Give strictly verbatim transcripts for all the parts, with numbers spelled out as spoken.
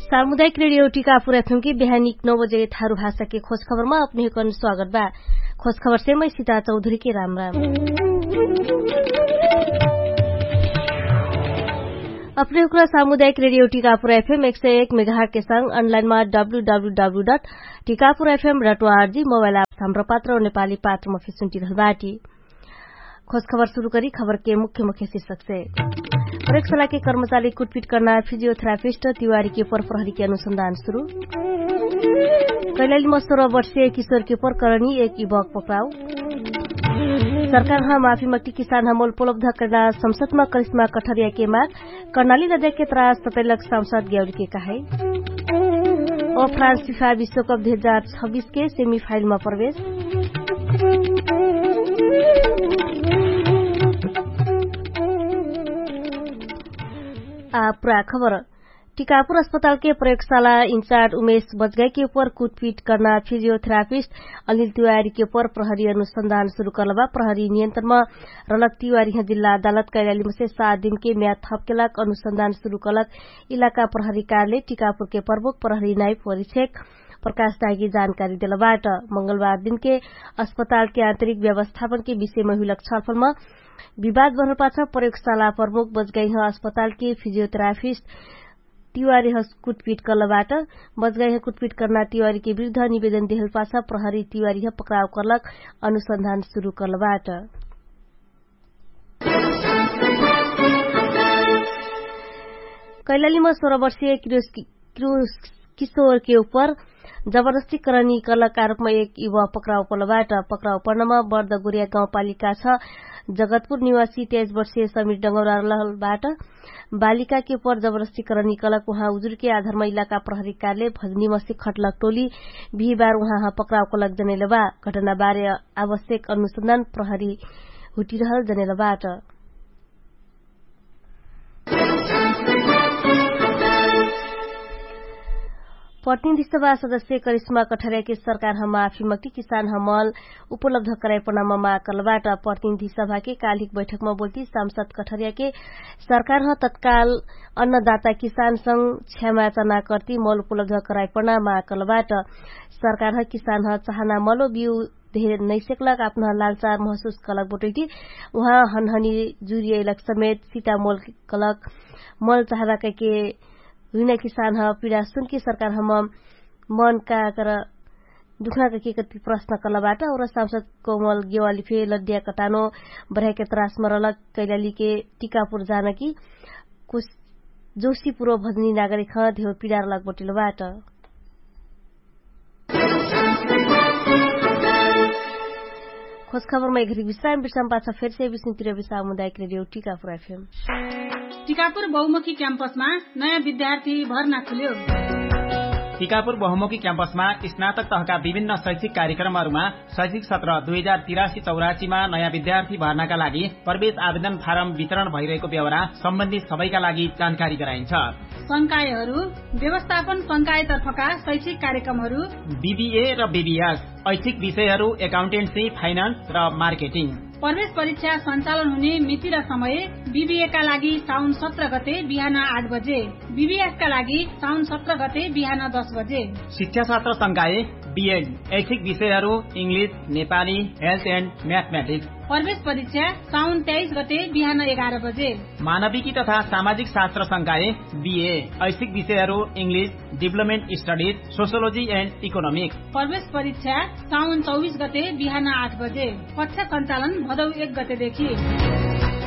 सामुदायिक रेडियो टिकापुर एफएम के बिहानिक नौ बजे थारु भाषा के खोज खबरमा अपने हुकन स्वागत बा। खोज खबर से मै सिता चौधरी के राम राम। अपने हुकरा सामुदायिक रेडियो टिकापुर एफएम एक सौ एक मेगाहट के संग अनलाइनमा W W W dot Tikapur FM dot ORG mobile app साम्र पात्र नेपाली पात्र मफे सुन्टिरहल बाटी। खोज खबर सुरु करी खबर के मुख्य मुख्य शीर्षक से। प्रयोगशाला के कर्मचारी कुटपिट कर्ना फिजियोथेरापिस्ट तिवारी के पर प्रहरी के अनुसन्धान सुरु। कैलाली मस्तोर वर्षे किशोर के पर करणी एक इबक पक्राउ। सरकार ह माफी मक्ति किसान हमल उपलब्ध कर्ना संसदमा करिश्मा कठरिया के माग। कर्णाली लद्या के त्रास ततैलक सांसद ग्याउली के कहाई। अ फ्रान्स फिफा विश्वकप दुई हजार छब्बिस के सेमिफाइलमा प्रवेश। आ पुरा खबर। टिकापुर अस्पताल के प्रयोगशाला इन्चार्ज उमेश बजगाई के उपर कुटपिट कर्ना फिजियोथेरापिस्ट अनिल तिवारी के उपर प्रहरी अनुसन्धान सुरु कर्लबा। प्रहरी नियन्त्रणमा रलक तिवारी ह जिल्ला अदालत कैलाली मसे सात दिन के म्याद थपकेलक अनुसन्धान सुरु कर्लक इलाका प्रहरी कार्यालय टिकापुर के प्रमुख प्रहरी नाइफ परिक्षक प्रकाश दागी जानकारी देलबाट। मंगलबार दिन के अस्पताल के आन्तरिक व्यवस्थापन के विषयमा हुइलक छलफलमा विवाद बढल पाछ प्रयोगशाला प्रमुख बजगाई ह अस्पताल के फिजियोथेरापिस्ट तिवारी ह कुटपिट कर्लबाट। बजगाई ह कुटपिट कर्ना तिवारी के विरुद्ध निवेदन देहल पाछ प्रहरी तिवारी ह पक्राउ कर्लक अनुसन्धान सुरु कर्लबाट। कैलालीमा सोह्र वर्षीय किरोज किरोज किशोर के उपर जबरजस्ती करणी कर्लक आरोपमा एक युवा पक्राउ पर्लबाट। पक्राउ पर्नमा बर्द गोरिया गाउँपालिका छ जगतपुर निवासी तेइस वर्षीय समिर डङ्गौरा रहलबाट। बालिका के उपर जबरजस्ती करणी कर्लक उहाँ उजुर के आधारमा इलाका प्रहरी कार्यालय भजनी मसे खटलक टोली बिहिबार उहाँ ह पक्राउ कर्लक जनेलबा। घटना बारे आवश्यक अनुसन्धान प्रहरी हुटिरहल जनेलबाट। प्रतिनिधि सभा सदस्य करिश्मा कठरिया के सरकार ह माफी मक्ति किसान हमल उपलब्ध कराइपनामा माग कर्लबाट। प्रतिनिधि सभा के कालिक बैठकमा बोल्ती सांसद कठरिया के सरकार ह तत्काल अन्नदाता किसान संग क्षमाचना कर्ती मल उपलब्ध कराइपना माग कर्लबाट। सरकार ह किसान ह चाहना मलो बिउ धेर नैसेकलक आपनह लालचार महसुस कलक बटोइटी उहाँ हनहनी जुरियैलक समेत सिता मोल कलक मल चाहबा कैके हुइना किसान ह पिडा सुनके सरकार हम मन का कर दुखना कैके कति प्रश्न कलबाट। और सांसद कोमल गेवाली फे लड्या कटानो बढाइके त्रास मरलक कैलाली के टिकापुर जान कि कुछ जोसी पुरो भजनी नागरिक ह धेउ पिडा रलक बटिलबाट। खोज खबरमा एघरी विश्राम विश्राम पाछ फेरसे विष्णुतिर विश्राम हुँदा एक रेडियो टिकापुर एफएम। टिकापुर बहुमुखी क्याम्पसमा नयाँ विद्यार्थी भर्ना खुल्यो। टिकापुर बहुमुखी क्याम्पसमा स्नातक तहका विभिन्न शैक्षिक कार्यक्रमहरूमा शैक्षिक सत्र दुई हजार तिरासी चौरासीमा नयाँ विद्यार्थी भर्नाका लागि प्रवेश आवेदन फारम वितरण भइरहेको बेहोरा सम्बन्धित सबैका लागि जानकारी गराइन्छ। संकायहरू व्यवस्थापन संकायतर्फका शैक्षिक कार्यक्रमहरू बिबिए र बिबिएस, ऐच्छिक विषयहरू एकाउन्टेन्सी, फाइनान्स र मार्केटिङ। प्रवेश परीक्षा सञ्चालन हुने मिति र समय बिबिएका लागि साउन सत्र गते बिहान आठ बजे, बिबिएसका लागि साउन सत्र गते बिहान दस बजे। शिक्षा शास्त्र संकाय बिएड, ऐच्छिक विषयहरू इङ्ग्लिस, नेपाली, हेल्थ एन्ड म्याथम्याटिक्स। प्रवेश परीक्षा साउन तेइस गते बिहान एघार बजे। मानविकी तथा सामाजिक शास्त्र संकाय बिए, ऐच्छिक विषयहरू इङ्ग्लिस, डिभलपमेन्ट स्टडिज, सोसियोलोजी एन्ड इकोनोमिक्स। प्रवेश परीक्षा साउन चौबिस गते बिहान आठ बजे। कक्षा सञ्चालन भदौ एक गतेदेखि।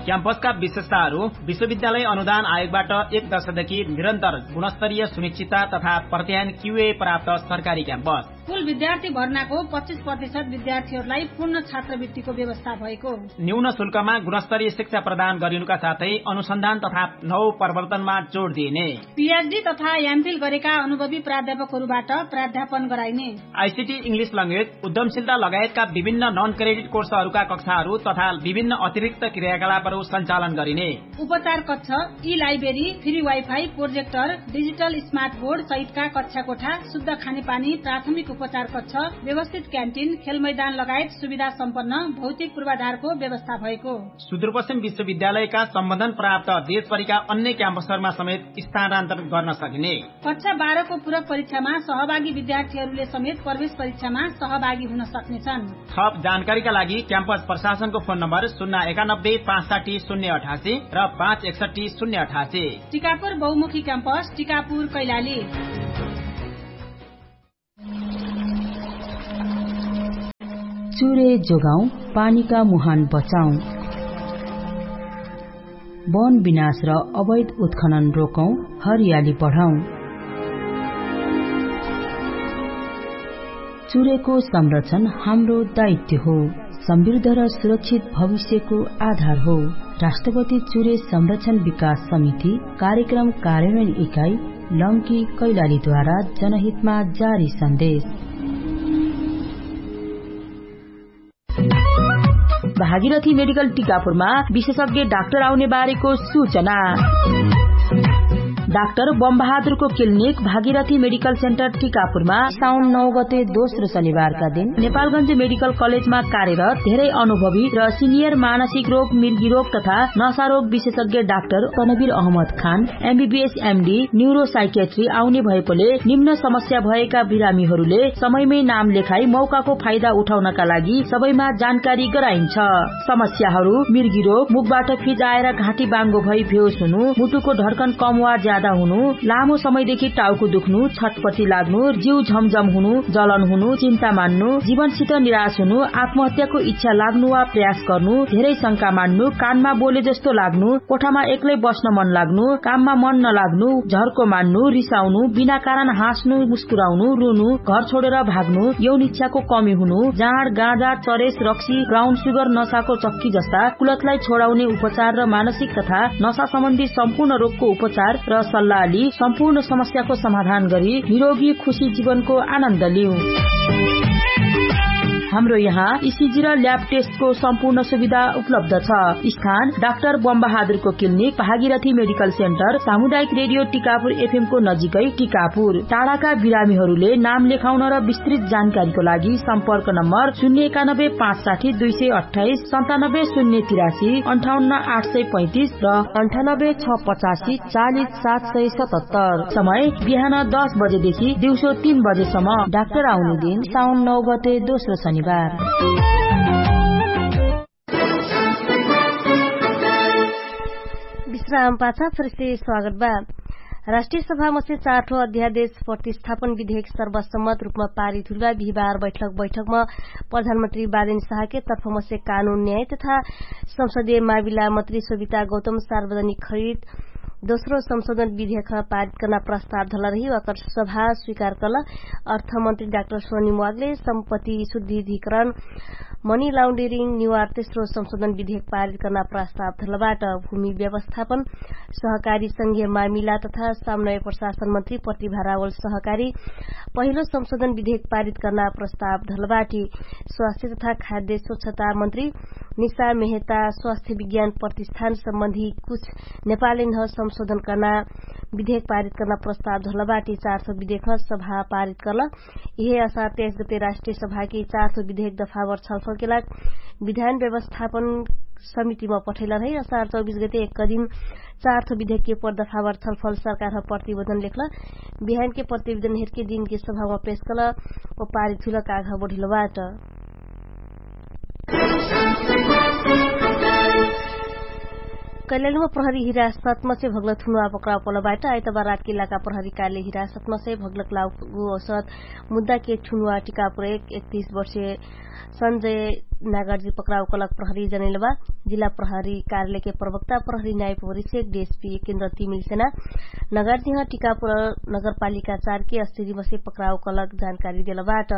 क्याम्पसका विशेषताहरू विश्वविद्यालय अनुदान आयोगबाट एक दशकदेखि निरन्तर गुणस्तरीय सुनिश्चितता तथा प्रत्यायन क्युए प्राप्त सरकारी क्याम्पस। कुल विद्यार्थी भर्नाको पच्चिस प्रतिशत विद्यार्थीहरूलाई पूर्ण छात्रवृत्तिको व्यवस्था भएको। न्यून शुल्कमा गुणस्तरीय शिक्षा प्रदान गरिनुका साथै अनुसन्धान तथा नव प्रवर्तनमा जोड दिइने। पिएचडी तथा एमफिल गरेका अनुभवी प्राध्यापकहरूबाट प्राध्यापन गराइने। आइसिटी इङ्ग्लिस ल्याङ्ग्वेज उद्यमशीलता लगायतका विभिन्न नन क्रेडिट कोर्सहरूका कक्षाहरू तथा विभिन्न अतिरिक्त क्रियाकलापहरू सञ्चालन गरिने। उपचार कक्ष, ई library, free wifi, projector, digital smart board सहितका कक्षा कोठा, शुद्ध खानेपानी, प्राथमिक उपचार कक्ष, व्यवस्थित क्यान्टिन, खेलमैदान लगायत सुविधा सम्पन्न भौतिक पूर्वाधारको व्यवस्था भएको। सुदूरपश्चिम विश्वविद्यालयका सम्बन्धन प्राप्त देशभरिका अन्य क्याम्पसहरूमा समेत स्थानान्तरण गर्न सकिने। कक्षा बाह्रको पूरक परीक्षामा सहभागी विद्यार्थीहरूले समेत प्रवेश परीक्षामा सहभागी हुन सक्नेछन्। थप जानकारीका लागि क्याम्पस प्रशासनको फोन नम्बर शून्य एकानब्बे पाँच साठी शून्य अठासी र पाँच एकसट्ठी शून्य अठासी। टिकापुर बहुमुखी क्याम्पस, टिकापुर, कैलाली। चुरे जोगाउँ, पानीका मुहान बचाउँ। वन विनाश र अवैध उत्खनन रोकौँ, हरियाली बढाउँ। चुरेको संरक्षण हाम्रो दायित्व हो। समृद्ध र सुरक्षित भविष्यको आधार हो। राष्ट्रपति चुरे संरक्षण विकास समिति, कार्यक्रम कार्यान्वयन इकाइ, लम्की, कैलालीद्वारा जनहितमा जारी सन्देश। भागीरथी मेडिकल टिकापुरमा विशेषज्ञ डाक्टर आउने बारेको सूचना। डाक्टर बमबहादुरको क्लिनिक भागीरथी मेडिकल सेन्टर टिकापुरमा साउन नौ गते दोस्रो शनिबारका दिन नेपालगञ्ज मेडिकल कलेजमा कार्यरत धेरै अनुभवी र सिनियर मानसिक रोग, मिर्गी रोग तथा नशा रोग विशेषज्ञ डाक्टर तनवीर अहमद खान, एमबीबीएस एमडी, न्युरोसाइकेट्री आउने भएकोले निम्न समस्या भएका बिरामीहरूले समयमै नाम लेखाई मौकाको फाइदा उठाउनका लागि सबैमा जानकारी गराइन्छ। समस्याहरू मिर्गी रोग, मुखबाट फिज आएर घाँटी बाङ्गो भई भेउस हुनु, मुटुको ढड्कन कम वा ज्यादा हुनु, लामो समयदेखि टाउको दुख्नु, छटपटी लाग्नु, जिउ झमझम हुनु, जलन हुनु, चिन्ता मान्नु, जीवनसित निराश हुनु, आत्महत्याको इच्छा लाग्नु वा प्रयास गर्नु, धेरै शंका मान्नु, कानमा बोले जस्तो लाग्नु, कोठामा एक्लै बस्न मन लाग्नु, काममा मन नलाग्नु, झर्को मान्नु, रिसाउनु, बिना कारण हाँस्नु, मुस्कुराउनु, रुनु, घर छोडेर भाग्नु, यौन इच्छाको कमी हुनु, जाँड, गाँजा, चरेस, रक्सी, ब्राउन सुगर, नशाको चक्की जस्ता कुलतलाई छोडाउने उपचार र मानसिक तथा नशा सम्बन्धी सम्पूर्ण रोगको उपचार र सल्लाह लि सम्पूर्ण समस्याको समाधान गरी निरोगी खुशी जीवनको आनन्द लिउ। हाम्रो यहाँ इसिजी र ल्याब टेस्टको सम्पूर्ण सुविधा उपलब्ध छ। स्थान डाक्टर बमबहादुरको क्लिनिक, भागीरथी मेडिकल सेन्टर, सामुदायिक रेडियो टिकापुर एफएमको नजिकै टिकापुर। टाढाका बिरामीहरूले नाम लेखाउन र विस्तृत जानकारीको लागि सम्पर्क नम्बर शून्य एकानब्बे पाँच साठी दुई सय अट्ठाइस, सन्तानब्बे शून्य तिरासी, अन्ठाउन्न आठ सय पैँतिस र अन्ठानब्बे छ पचासी चालिस सात सय सतहत्तर। समय बिहान दस बजेदेखि दिउँसो तीन बजेसम्म। डाक्टर आउने दिन साउन नौ गते दोस्रो शनिबार। विश्राम पाछा फेरसे स्वागत बा। राष्ट्रिय सभामसे चारठो अध्यादेश प्रतिस्थापन विधेयक सर्वसम्मत रूपमा पारित हुइलबा बिहिबार बैठक बैठकमा प्रधानमन्त्री बादेन साहके तर्फमसे कानुन न्याय तथा संसदीय मामिला मन्त्री सोभिता गौतम सार्वजनिक खरिद दोस्रो संशोधन विधेयक पारित कर्ना प्रस्ताव धलरही वाकर सभा स्वीकार कर्ल। अर्थमन्त्री डाक्टर सोनी म्वागले सम्पत्ति शुद्धिधिकरण मनी लाउन्डेरिङ निवार तेस्रो संशोधन विधेयक पारित कर्ना प्रस्ताव धलबाट। भूमि व्यवस्थापन सहकारी संघीय मामिला तथा सामनय प्रशासन मन्त्री प्रतिभारावल सहकारी पहिलो संशोधन विधेयक पारित कर्ना प्रस्ताव धलबाटी। स्वास्थ्य तथा खाद्य स्वच्छता मन्त्री निशा मेहता स्वास्थ्य विज्ञान प्रतिष्ठान सम्बन्धी कुछ नेपालैनह संशोधन कर्ना विधेयक पारित कर्ना प्रस्ताव धलबाटी। चारसो विधेयक सभा पारित कर्ल। इहे असार तेइस गते राष्ट्रिय सभाकी चारसो विधेयक दफावर छलफलके लाग विधान व्यवस्थापन समितिमा पठैलन है। असार चौबिस गते एक दिन चारसो विधेयकके पर दफावर छलफल सरकारह प्रतिवेदन लेख्ल। बिहानके प्रतिवेदन हेरके दिनके सभामा पेश कल व पारित हुइल कागह बढिलबाट। कैलालीमा प्रहरी हिरासतमा से भगलत हुनुवा पक्राउ पलबाट आइतबार रातके लाका प्रहरी काले हिरासतमा से भगलक लाउगु औसत मुद्दाके ठुनुवा टिकापुर एक एकतीस वर्षे सन्जय नागरजी पक्राउ कलक प्रहरी जनैलबा। जिल्ला प्रहरी कार्यालयके प्रवक्ता प्रहरी नाइप वरिषेक डिएसपी केन्द्र तिमिल सेना नगरजिह टिकापुर नगरपालिका चारके अस्थिरिमसे पक्राउ कलक जानकारी देलबाट।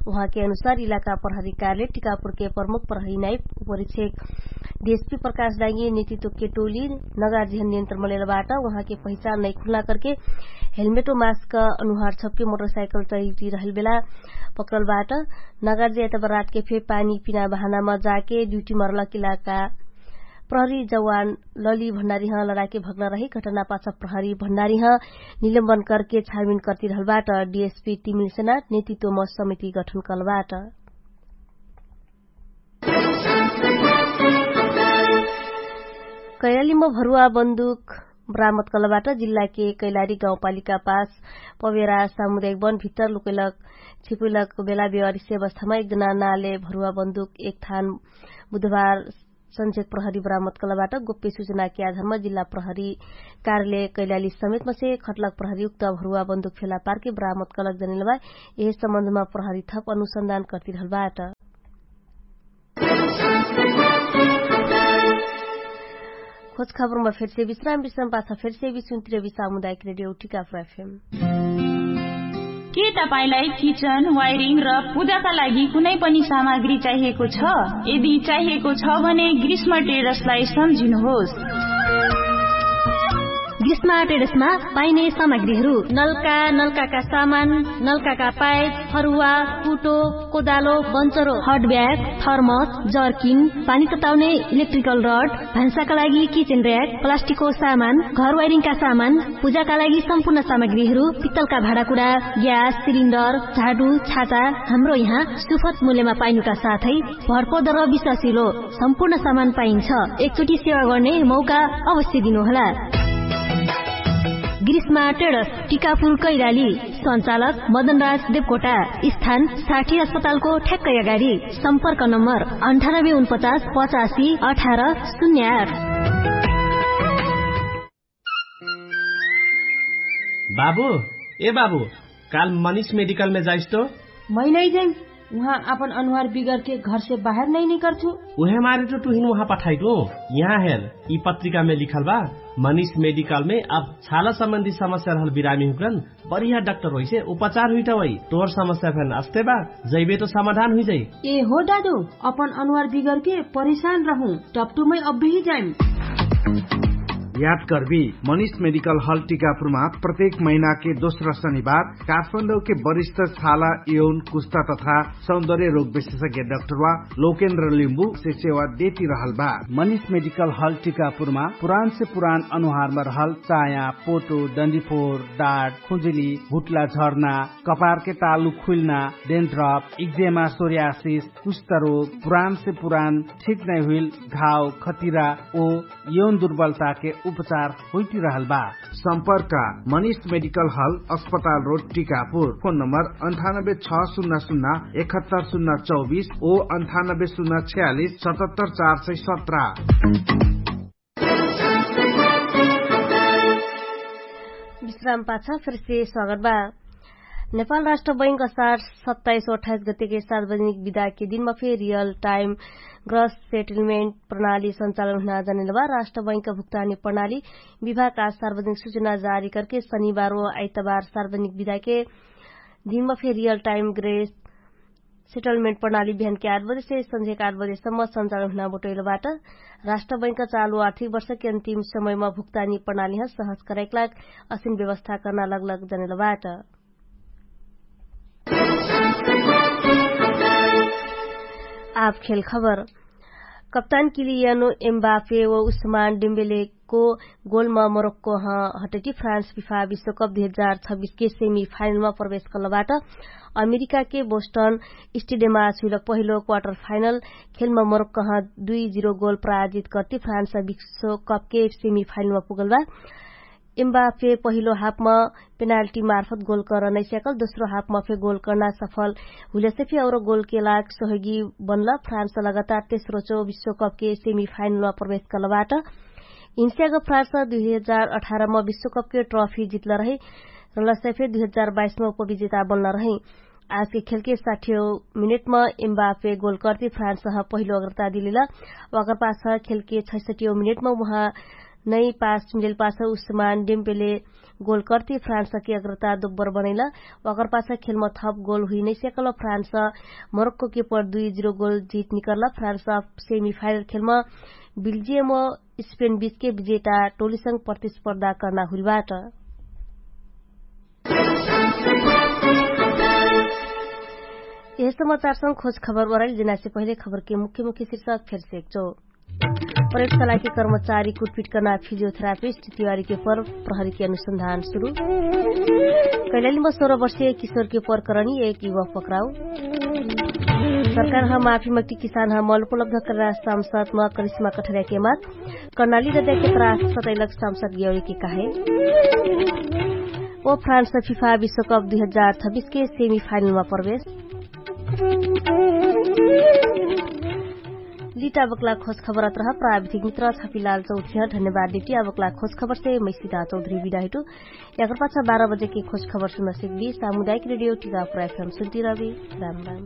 उहाँके अनुसार इलाका प्रहरी कार्यालय टिकापुरके प्रमुख प्रहरी नाइप वरिषेक डिएसपी प्रकाश डाइङ्गी नेतृत्वके टोली नगरजिह नियन्त्रण मलेलबाट। उहाँके पहिचान नैखुल्ला करके हेलमेटो मास्क अनुहार छपके मोटरसाइकल चैटी रहलबेला पक्रलबाट। नगरजिह एतबराटके फे पानी पिना बहानामा जाके ड्युटी मरलक इलाका प्रहरी जवान लली भण्डारीह लडाके भग्न रही घटना पाछ प्रहरी भण्डारीह निलम्बन करके छानबिन कर्तिरहलबाट। डिएसपी तिमिल सेना नेतृत्वम समिति गठन कलबाट। कैलालीम भरुवा बन्दुक बरामद कलबाट। जिल्लाके कैलाली गाउँपालिका पास पवेरा सामुदायिक वन भित्तर लुकैलक छिपैलक बेला बेवारिसे अवस्थामा एक जना नाले भरुवा बन्दुक एक थान बुधबार सन्झेक प्रहरी बरामद कलबाट। गोप्य सूचनाके आधारमा जिल्ला प्रहरी कार्यालय कैलाली समेतमसे खटलक प्रहरी उक्त भरुवा बन्दुक फेला पारके बरामद कलक जनेलबा। यहे सम्बन्धमा प्रहरी थप अनुसन्धान कर्तिरहलबाट। खोज खबरमा फेरसे विश्राम विश्राम पाछा फेरसे विश्राम तिर विश्राम उदायक रेडियो टिका प्रफेम। के तपाईंलाई किचन वायरिङ र पूजाका लागि कुनै पनि सामग्री चाहिएको छ? यदि चाहिएको छ भने ग्रीष्म टेरसलाई सम्झिनुहोस्। ग्रीष्म टेरसमा पाइने सामग्रीहरू नलका नलकाका सामान, नलकाका पाइप, फरुवा, कुटो, कोदालो, बन्चरो, हट ब्याग, थर्मस, जर्किन, पानी तताउने इलेक्ट्रिकल रड, भान्साका लागि किचेन र्याक, प्लास्टिकको सामान, घर वाइरिङका सामान, पूजाका लागि सम्पूर्ण सामग्रीहरू, पित्तलका भाँडाकुडा, ग्यास सिलिन्डर, झाडु, छाता, हाम्रो यहाँ सुफत मूल्यमा पाइनुका साथै भरपर्दो र विश्वासिलो सम्पूर्ण सामान पाइन्छ। एकचोटि सेवा गर्ने मौका अवश्य दिनुहोला। ग्रीष्मा टेडस, टिकापुर कैलाली। सञ्चालक मदनराज देवकोटा। स्थान साठी अस्पतालको ठ्याक्कै अगाडि। सम्पर्क नम्बर अन्ठानब्बे उनपचास पचासी अठार शून्य आठ। बाबु, ए बाबु, काल मनिष मेडिकलमे जाइस तो? मै नै जाइम। उहाँ आपन अनुहार बिगरके घरसे बाहेर नै निकर्छु। उहे मारे तो तुहिन उहाँ पठाइटु। यहाँ हेर, यि पत्रिकामे लिखल बा, मनिष मेडिकलमे अब छाला सम्बन्धी समस्या रहल बिरामी हुक्रन बढिया डाक्टर होइसे उपचार हुइटा वइ। तोर समस्या फेन अस्ते बा, जैबे तो समाधान हुइजाइ। ए हो दादु, अपन अनुहार बिगरके परेशान रहु, टपटुमै अब्बेही जाइम। याद कर्बी, मनिष मेडिकल हल टिकापुरमा प्रत्येक महिनाके दोस्रा शनिबार काठमाडौके वरिष्ठ छाला यौन कुस्ता तथा सौन्दर्य रोग विशेषज्ञ डाक्टरवा लोकेन्द्र लिम्बु से सेवा देति रहल बा। मनिष मेडिकल हल टिकापुरमा पुरान से पुरान अनुहारमा रहल चाया, पोटो, डन्डिफोर, डाट, खुजुली, हुट्ला झर्ना, कपारके तालु खुइल्ना, डेन्ड्रप, इक्जेमा, सोर्यासिस, कुष्ठरोग, पुरान से पुरान ठिक नै हुइल घाव, खतिरा ओ यौन दुर्बलताके उपचार होइतिरहल बा। सम्पर्क मनिष मेडिकल हल, अस्पताल रोड, टिकापुर। फोन नम्बर अन्ठानब्बे छ शून्य शून्य एकहत्तर शून्य चौबिस ओ अन्ठानब्बे शून्य छयालिस सतहत्तर चार सय सत्र। विश्राम पाछ फेरसे स्वागत बा। नेपाल राष्ट्र बैंक असार सत्ताइस अठाइस गतेके सार्वजनिक विधाके दिनमा फे रियल टाइम ग्रस सेटलमेन्ट प्रणाली सञ्चालन हुना जनेल बा। राष्ट्र बैंकका भुक्तानी प्रणाली विभाग आज सार्वजनिक सूचना जारी करके शनिबार ओ आइतबार सार्वजनिक विधाके दिनमा फे रियल टाइम ग्रेस सेटलमेन्ट प्रणाली बिहानके आठ बजेसे सन्झेक आठ बजेसम्म सञ्चालन हुना बटोइलबाट। राष्ट्र बैंकका चालु आर्थिक वर्षके अन्तिम समयमा भुक्तानी प्रणालीह सहज करैक लाग असिन व्यवस्था कर्ना लगलग जनेलबाट। आब खेल खबर। कप्तान किलियानो एम्बाफे ओ उस्मान डेम्बेलेको गोलमा मोरोक्को ह हटटी फ्रान्स फिफा विश्वकप दुई हजार छब्बिसके सेमी फाइनलमा प्रवेश कलबाट। अमेरिकाके बोस्टन स्टेडियममा छुइलक पहिलो क्वार्टर फाइनल खेलमा मोरोक्को ह दुई जिरो गोल पराजित कर्ति फ्रान्स विश्वकपके सेमी फाइनलमा पुगलबा। एम्बाफे पहिलो हाफमा पेनाल्टी मार्फत गोल कर्न नैस्याकल दोस्रो हाफमा फे गोल कर्ना सफल हुइलसे फे और गोलके लाग सहयोगी बनल। फ्रान्स लगातार तेस्रो चो विश्वकपके सेमी फाइनलमा प्रवेश कलबाट। हिन्स्याक फ्रान्स दुई हजार अठारमा विश्वकपके ट्रफी जितल रही। रलसे फे दुई हजार बाइसमा उपविजेता बनल रही। आजके खेलके साठियो मिनेटमा एम्बाफे गोल कर्ति फ्रान्सह पहिलो अग्रता दिलिल। वाकर पाछ खेलके छैसठियो मिनेटमा उहाँ नै पास मिलेल पाछ उस्मान डेम्पेले गोल कर्ति फ्रान्सके अग्रता दोब्बर बनैल। वाकर पाछ खेलमा थप गोल हुइ नैस्याकल फ्रान्स मोरक्कोके पर दुई जिरो गोल जित निकर्ल। फ्रान्स सेमी फाइनल खेलमा बिल्जियम स्पेन बिचके विजेता टोलीसँग प्रतिस्पर्धा कर्ना हुइलबाट। यह समाचारसँग खोज खबर ओराइल जेनासे पहिले खबरके मुख्य मुख्य शीर्षक फेरसे एकचो। प्रयोगशालाके कर्मचारी कुटपिटकना फिजियोथेरापिस्ट तिवारीके पर प्रहरीके अनुसन्धान सुरु। कैलालीमा सोह्र वर्षीय किशोरके पर करणी एक युवा पक्राउ। सरकारह माफी मक्टी किसानह मल उपलब्ध करना सामसतमा करिश्मा कठर्याके मात। कर्णाली रद्याके त्रास सतैलक सामसत गेवरीके काहे। ओ फ्रान्स फिफा विश्वकप दुई हजार छब्बिसके सेमिफाइनलमा प्रवेश। लिटा बक्ला खोज खबर अत्रह प्राविधिक मित्र छपिलाल चौधरीह धन्यवाद देटी। आ बक्ला खोज खबरसे मैसिदा चौधरी बिदा हिटु। याकर पाछा बाह्र बजेके खोज खबर सुन्न सिक्दी। सामुदायिक रेडियो टिका प्राइफम सुन्ती रहबी। राम राम।